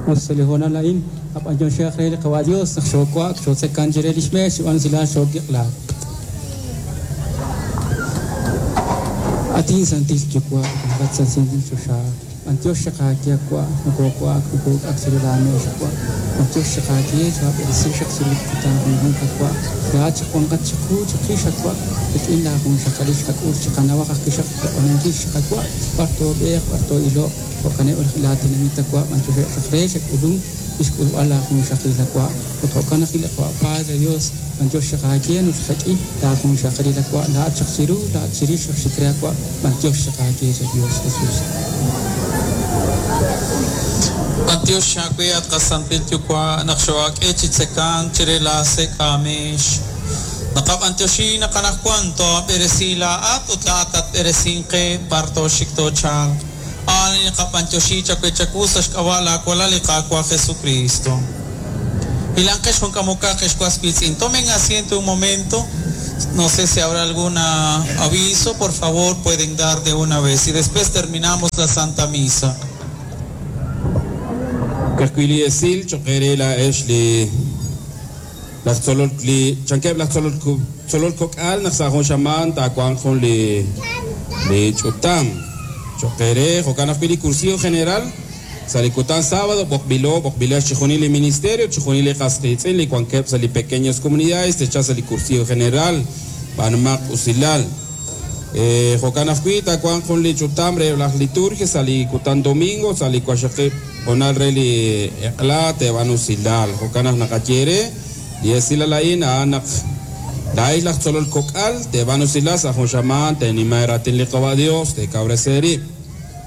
Us sa' li hoonal a'in, qab'antioxihaq re li Qawa' Dios naq xoowa'ak, xootzekan chire lix meex, xb'aan usilal xookiq'laak. At inSantil Yuwa', wankat sa' santil choxa, b'antiox chaq aawe, at Wa', nokoowa'ak, nokook'ak chiru laa meex, at Wa'. B'antiox chaq aawe, choob'eresi xaq chiru li kutan junjunq, at Wa'. Laa'at chaq wanqat chiqu, chiqix, at Wa', rik'in laa junxaqalil xqak'ul, chiqanawaq ajwi' xaq loq'oninkil xaq, at Wa', b'ar toob'eeq, b'ar too'iloq. Jo'kaneb' laa tenamit, at Wa', b'antioxeb' xaq re xe'k'ulunk chixk'ulb'al laa junxaqalil, at Wa'. Ut jo'kan ajwi' li Qawa' Padre Dios, b'antiox chaq aawe naq xqak'i laa junxaqalil, at Wa', laa'at chaq chiru, laa'at chirix xaq xik re, at Wa', b'antiox chaq aawe, chan Dios Jesús. B'antiox aawe, at qaSantil Yuwa', naq xoo'ak'e chi tzekank chire laa sek' aameex. Naqab'antioxi naq anaqwan too'ab'eresi laa'at ut laa'at tatb'eresinq qe b'ar tooxik toochalq. A'an li naqab'antioxi chawe chawu sa' xk'ab'a' laa Walal li Qaawa' Jesukristo. Hilanqex jun k'amokaq, ex was wiitz'in. Tomen asiento un momento. No sé si habrá algún aviso, por favor pueden dar de una vez y después terminamos la Santa Misa. Ka'ajwi' li esil cho'q eere laa'ex li laj tzolol li chankeb' laj tzolol tzolol kok'al naq sa' jun xamaan taawanq jun li li ch'utam cho'q eere jo'kan ajwi' li Cursillo General sa' li kutan sábado b'oqb'ilo b'oqb'ilex chixjunil li ministerio chixjunil li qas qiitz'in li wankeb' sa' li pequeñas comunidades te'chalq sa' li Cursillo General b'aanumaq usilal. Jo'kan ajwi' taawanq jun li ch'utam reheb' laj liturgia sa' li kutan domingo sa' li waqxaqib' hoonal re li eq'la teeb'aanu usilal. Jo'kan naq naqaye eere, li esilal a'in a'an naq laa'ex laj tzolol kok'al teeb'aanu usilal sa' jun xamaan teenima eeraatin li Qawa' Dios, teekawresi eerib'.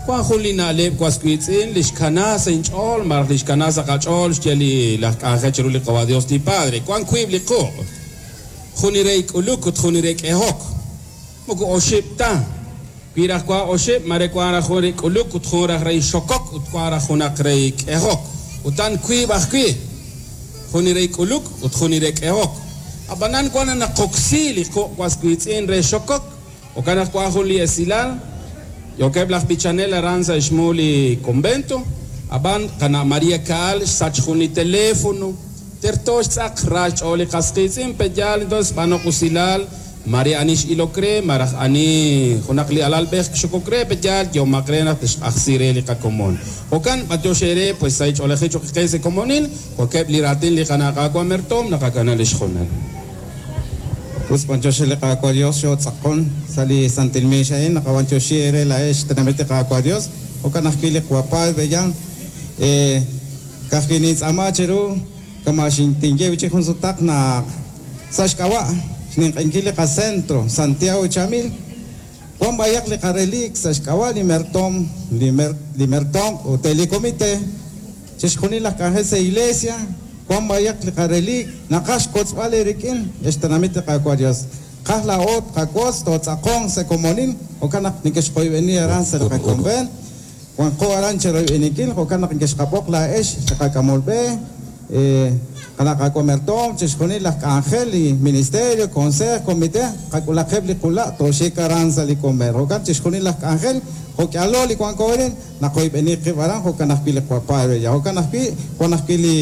Wan jun li na'leb' was wiitz'in li xkana sa' inch'ool malaj li xkana sa' qach'ool xye li laj k'anjel chiru li Qawa' Dios li Padre. Wan wiib' li quq'. Jun li re k'uluk ut jun li re k'ehok. Moko oxib' ta. Wi raj wank oxib', mare wank raj jun re k'uluk ut jun raj re xokok ut wank raj junaq re k'ehok. Utan wiib' ajwi'. Jun li re k'uluk ut jun li re k'ehok. Ab'anan wank naq naqoksi li quq' was wiitz'in re xokok. Jo'kan naq wank jun li esilal, yookeb' laj b'ichanel aran sa' xmu li convento, ab'an qana' María Caal xsach jun li teléfono. Terto xtz'aq, ra xch'ool li qas qiitz'in, pe'yaal entonces b'anoq usilal, mare ani x'ilok re, maraj ani junaq li alalb'ej xokok re, pe'yaal yehomaq re naq tixq'ajsi re li qakomon. Jo'kan, b'antiox eere, pues sahil ch'oolejil cho'q qe sa' komonil, jo'keb' li raatin li qana' Qaawa' Mertoom naqakana li xjunal. Us b'antiox re li Qaawa' Dios xootz'aqon sa' li santil meex a'in, naqab'antioxi eere laa'ex xtenamit li Qaawa' Dios, jo'kan ajwi' li Qawa' Padre Yan. Ka'ajwi' nintz'aama cheru kama' tinye wi' chik jun sutaq naq sa' xk'ab'a' xninq'ehinkil li qacentro Santiago Chamil, wan b'ayaq li qarelik sa' xk'ab'a' li mertoom, li mertoom ut li comité. Chixjunil laj k'anjel sa' iglesia, wan b'ayaq li qarelik, naqaj xwotzb'al eerik'in, ex xtenamit li Qaawa' Dios. Qaj laa'o tqawotz, tootz'aqonq sa' komonil, jo'kan naq nekexqoyb'eni aran sa' li qakonvent. Wanqo aran cheroyb'eninkil, jo'kan naq nekexqab'oq laa'ex li qak'amol b'e, qana' Qaawa' Mertoom, chixjunil laj k'anjel, li ministerio, consejo, comité, qak'ulaqeb' li qula' tooxik aran sa' li konvent. Jo'kan chixjunil laj k'anjel, jo'k'ihalo li wanko arin, Naqoyb'eni qib' aran, jo'kan ajwi' li Qawa' Padre ya. Jo'kan ajwi', wan ajwi' li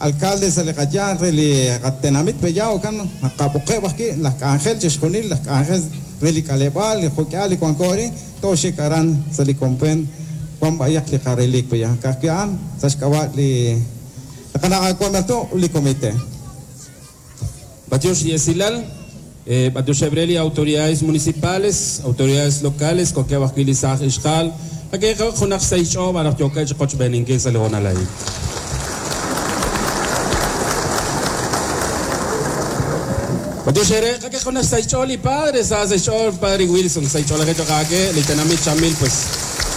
alcalde sa' li qayanq re li qatenamit Peya, jo'kan naqab'oqeb' ajwi' laj k'anjel, chixjunil laj k'anjel re li k'aleb'aal, li jo'k'ihal li wanko arin, tooxik aran sa' li konvent, wan b'ayaq li qarelik Peya. Ka'ajwi' a'an sa' xk'ab'a' li qana' Qaawa' Mertoom ut li comité. B'antiox li esilal, b'antioxeb' re li autoridades municipales, autoridades locales, wankeb' ajwi' li saaj ixqa'al, qak'ehaq junaq xsahil xch'ool malaj yookeb' chi qochb'eeninkil sa' li hoonal a'in. B'antiox eere, qak'ehaq junaq xsahil xch'ool li padre, sa sa' xch'ool padre Wilson, sahil ch'oolejil cho'q aake, li tenamit Chamil pues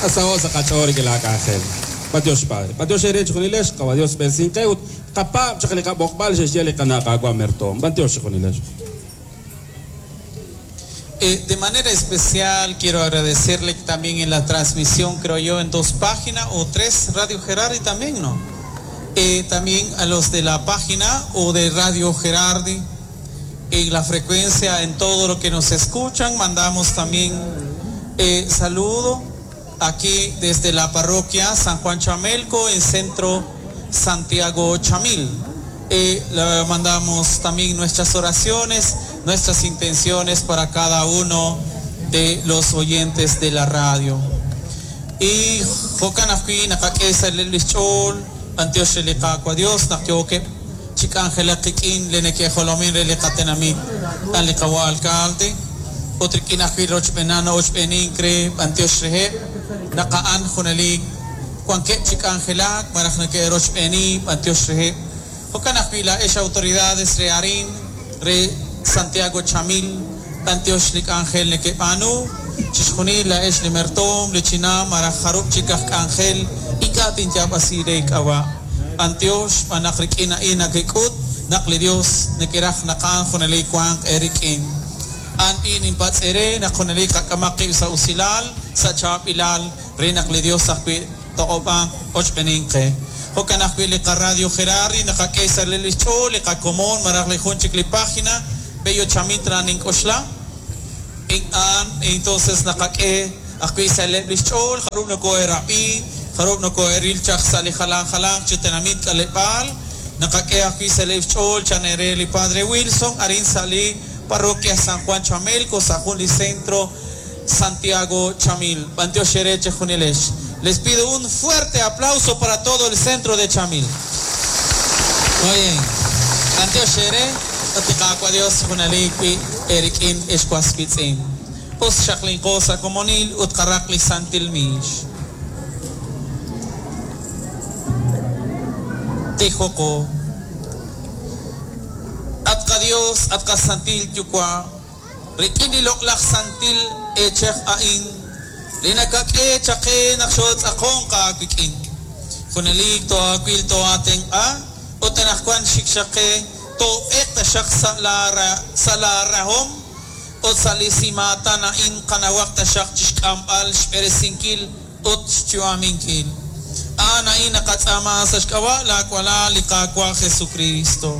nasaho' sa' qach'ool rik'in laak'anjel. B'antiox padre. B'antiox eere chejunilex, Qawa' Dios b'eresinq qe ut Qapaab' chaq li qab'oqb'al xe'xye li qana' Qaawa' Mertoom. B'antiox chejunilex. De manera especial quiero agradecerle también en la transmisión, creo yo, en dos páginas o tres, Radio Gerardi también, ¿no? También a los de la página o de Radio Gerardi, en la frecuencia, en todo lo que nos escuchan, mandamos también saludo. aquí desde la parroquia San Juan Chamelco en centro Santiago Chamil. Le mandamos también nuestras oraciones, nuestras intenciones para cada uno de los oyentes de la radio. Y jo'kan ajwi' naqak'e sa' li xch'ool b'antiox re li Qaawa' Dios naq yookeb' chi k'anjelak qik'in li neke'jolomin re li qatenamit an li qawa' alcalde ut rik'in ajwi' rochb'eenan ochb'eenink re b'antiox reheb' naq a'an junelik wankeb' chi k'anjelak malaj neke'rochb'eeni b'antiox reheb' jo'kan ajwi' laa'ex autoridades re arin re Santiago Chamil b'antiox li k'anjel neke'b'aanu chixjunil laa'ex li mertoom li chinam malaj jarub' chik aj k'anjel ink'a' tinyaab'asi re k'ab'a' b'antiox xb'aan naq rik'in a'in nakek'ut naq li Dios nekeraj naq a'an junelik wanq eerik'in an b'i ninpatz'ere naq junelik qak'amaq qib' sa' usilal sa' chaab'ilal re naq li Dios ajwi' toq'ob'anq ochb'eenink qe jo'kan ajwi' li qaradio Gerardi naqak'e sa' li xch'ool li qakomon malaj li jun chik li página Bello Chamitra nink'oxla in-an entonces naqak'e ajwi' sa' leb' li xch'ool jarub' noko'erab'i jarub' noko'eril chaq sa' li jalan jalanq chi tenamit k'aleb'aal naqak'e ajwi' sa' leb' xch'ool chan ere li Padre Wilson arin sa' li parroquia San Juan Chamelco sa' jun li centro Santiago Chamil. B'antiox eere chejunilex. Les pido un fuerte aplauso para todo el centro de Chamil. Muy bien. B'antiox eere ut li Qaawa' Dios junelik wi' erik'in ex waswitz'in. Us xaqlinqo sa' komonil ut qaraq li santil miix. Tijoko. At qa Dios, at qa santil Yuwa', rik'in li loq'laj santil eechej a'in, li nakak'e chaqe naq xootz'aqon qaawik'in. Junelik toaawil toaatenq'a, ut anaqwan xik xaqe toob'eq taxaq sa' la rahom, ut sa' li simaatan a'in qanawaq taxaq chixk'amb'al xb'eresinkil ut xyu'aminkil. A'an a'in naqatz'aama sa' xk'ab'a' laawalal li Qaawa' Jesucristo.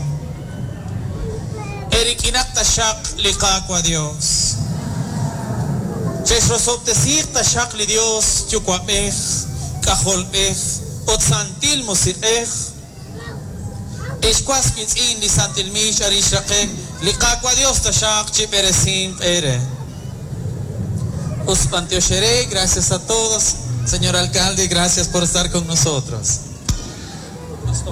Erik'inaq taxaq li Qaawa' Dios. Chexrosob'tesiiq taxaq li Dios Yuwa'b'ej, K'ajolb'ej, ut Santil Musiq'ej. Ex was witz'in li Santil Miix arin xraqe li Qaawa' Dios taxaq chi b'eresinq eere. Us b'antiox eere, gracias a todos. Señor alcalde, gracias por estar con nosotros. Hasta